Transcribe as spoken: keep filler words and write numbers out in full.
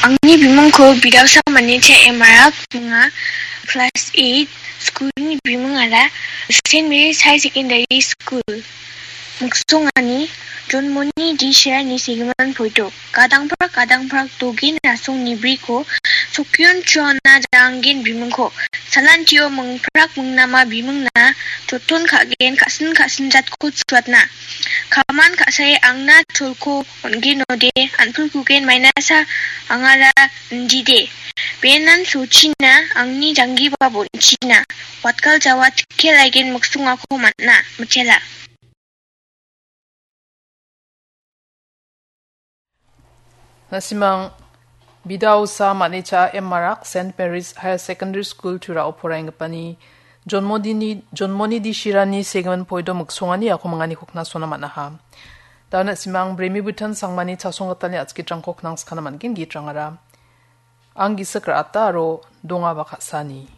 Angni bimingko Bidausa Manicha M R minga, class eight, school-ni bimingara Saint Mary's High Secondary School. Miksongani Jonmoni Dishirani segimin poito. Gadangprak gadangprak dogin rasong nibriko, sokion chuana jangin bimingko, salantio mingprak mingnama bimingna, joton ka·gen ka·sin ka·sin jatko chuatna. Kaman ka·sae angna cholko on·genode, an·pulkugen mainasa angara indide. Benan sochina angni janggiba bonchina. Watkal jawa tikke laigen miksongako man·a, mitela. Na·simang Bidausa Manicha M R Saint Mary's Higher Secondary School Turao poraenggipani Jonmodini, Jonmoni Dishirani segimin poito miksongani ako mingani kokna sona man·aha. Da·o na·simang Bremi Butan Sangmani chasonggitalni atskitrangko knangskana man·gen gitrangara. Ang gisik ra·ata aro dongaba ka·sani.